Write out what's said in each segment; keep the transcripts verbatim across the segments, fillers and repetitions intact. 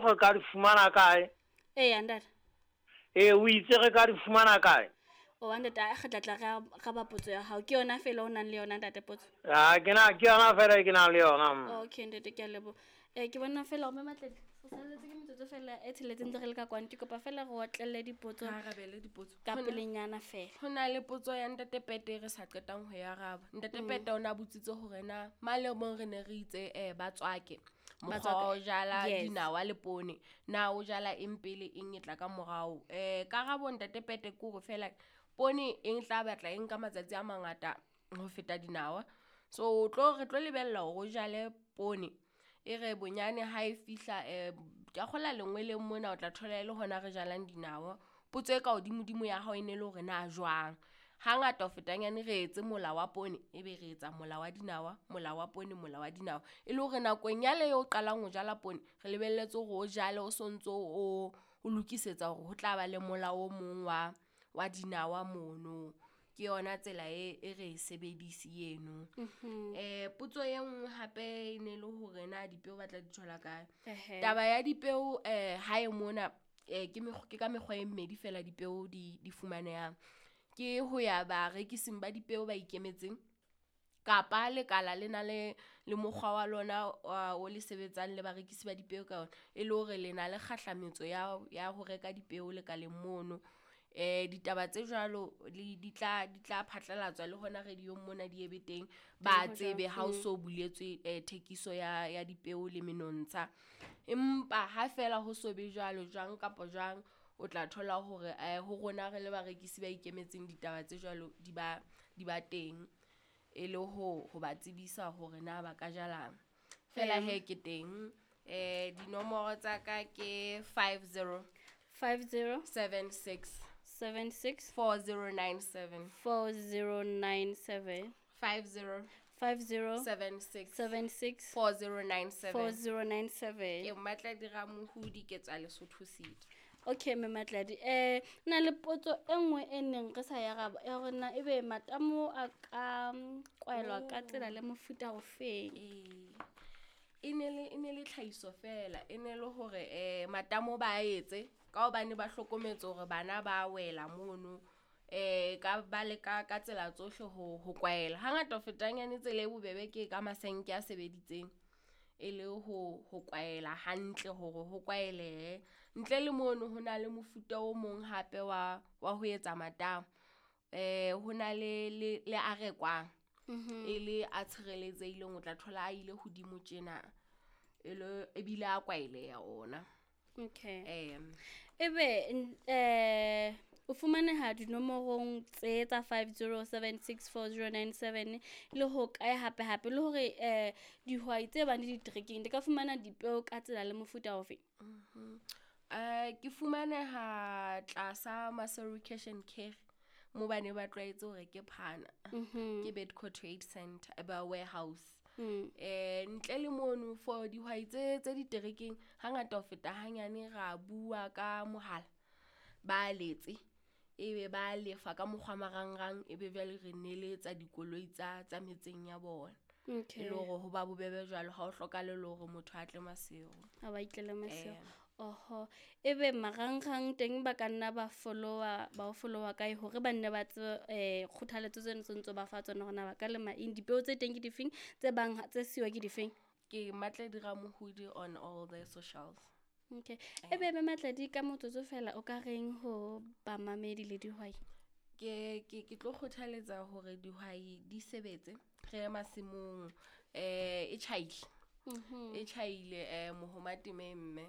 re ka di fumana kae? Eya ntate. Ee, o itse re ka di fumana kae? O ntate, a re tla tla re araba potso ya hao. Ke yona fela o nang le yona ntate potso? Ha ke na, ke yona fela ke nang le yona. Okay ntate, ke a leboha. Eh ke bona fela hore Matladi re salletse ke metsotso fela e tsheletseng ntse re le ka kwano. Ke kopa fela re otlelle dipotso. Re arabele dipotso. Ka pelenyana fela. Ho na le potso ya ntate Pete re sa qetang ho e araba. Ntate Pete o na botsitse hore na male mong re ne re itse eh ba tswake. Mokgwa wa ho jala dinawa le poone. Na o jala eng pele eng e tla ka morao. Eh karabo ntate Pete ke hore fela poone e tla batla e nka matsatsi a mangata ho feta dinawa. So tlo re tlo lebella hore o jale poone. E re bonyane ha e fihla eh ke a kgola lengweleng mona o tla thola e le hona re jalang dinawa. Potso e ka hodimodimo ya hao e ne le hore na jwang. Hangata ho fetanyane re etse mola wa poone, ebe re etsa mola wa dinawa, mola wa poone, mola wa dinawa. E le hore nakong yale eo o qalang ho jala poone, re lebelletse hore o jale o sontso o o lokisetsa hore ho tla ba le mola o mong wa wa dinawa mono. Ke yona tsela e e re e sebedisi eno. Eh potso e nngwe hape e ne le hore na dipeo ba tla di thola kae. Taba ya dipeo eh hae mona eh ke mekgwa ke ka mekgwa e mmedi fela dipeo di di fumanehang. Ke ho ya barekising ba dipeo ba ikemetseng kapa lekala le na le le mokgwa wa lona o le sebetsang le barekisi ba dipeo ka ona, e le hore le na le kgahlametso ya ya ho reka dipeo lekaleng mono. Eh ditaba tse jwalo le di tla di tla phatlalatswa le hona radio-ong mona di ebe teng, ba tsebe ha o so buletswe eh thekiso ya ya dipeo le menontsha. Empa ha fela ho so be jwalo jwang kapa jwang o tla thola hore eh ho rona re le barekisi ba ikemetseng ditaba tse jwalo di ba di ba teng e le ho ho ba tsebisa hore na ba ka jalang. Fela he ke teng eh dinomoro tsa ka ke five zero five zero seven six seven six four zero nine seven four zero nine seven five zero five zero seven six seven six four zero nine seven four zero nine seven. Ke Matladi Ramohudi ke tswa Lesotho City. Okay mme Matladi, eh na le potso e nngwe e neng re sa e araba ya hore na ebe matamo a ka kwaelwa ka tsela le mofuta ofeng. E ne le e ne le tlhahiso fela, e ne le hore eh matamo ba etse ka hobane ba hlokometse hore bana ba wela mono eh ka ba le ka ka tsela tsohle ho ho kwaela. Hangata ho fetanyane tsela e bobebe ke ka masenke a sebeditseng e le ho ho kwaela hantle hore ho kwaelehe. Ntle le mono ho na le mofuta o mong hape wa wa ho etsa matamo. Eh ho na le le le a rekwang e le a tshireletsehileng, o tla thola a ile hodimo tjena e le ebile a kwaeleha ona. Okay. Um Ebe eh o fumaneha dinomorong tse tsa five zero seven six four zero nine seven le ho kae hape hape le hore eh dihwai tse bang le ditrekeng di ka fumana dipeo ka tsela le mofuta ofe? Mhm. Eh ke fumaneha tlasa Maseru Cash and Carry mo bane ba tlwaetse hore ke phana. Ke Bedco Trade Center ba warehouse. Eh ntle le mono for dihwai tse tse diterekeng hangata ho feta hanyane ra bua ka mohala ba letse ebe ba lefa ka mokgwa marangrang ebe jwale re neletsa dikoloi tsa tsa metseng ya bona. Okay. E le hore ho ba bobebe jwalo ha o hlokahale le hore motho a tle Maseru. Ha ba itlele Maseru. Oho, ebe marangrang teng ba ka nna ba followa ba o followa kae hore ba nne ba tsebe eh kgothaletso tseno tse ntse ba fa tsona hore na ba ka lema eng, dipeo tse teng ke difeng, tse bang tse siwa ke difeng? Ke Matladi Ramohudi on all the socials. Okay. Ebe ebe Matladi ka motsotso fela o ka reng ho bamamedi le dihwai? Ke ke ke tlo kgothaletsa hore dihwai di sebetse re ye masimong eh e tjhaile. E tjhaile eh mohoma temeng mme.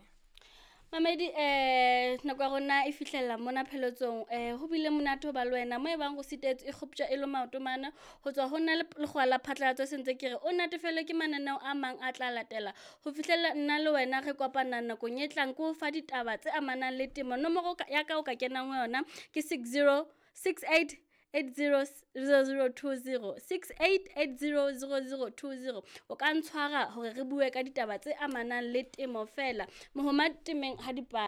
Mamedi eh nako ya rona e fihlella mona pheletsong, eh ho bile monate ho ba le wena mo e bang go sitetswe e kgoptjwa e le maoto mana ho tswa ho nna le lekgowa la phatlalatso sentse ke re o natefelwe ke mananeo a mang a tla latela ho fihlella nna le wena re kopana nakong e tlang ke ho fa ditaba tse amanang le temo. Nomoro ya ka o ka kenang ho yona ke six zero six eight eight zero zero zero two zero six eight eight zero zero zero two zero. O ka ntshwara hore re bue ka ditaba tse amanang le temo fela. Mohoma temeng ha di pa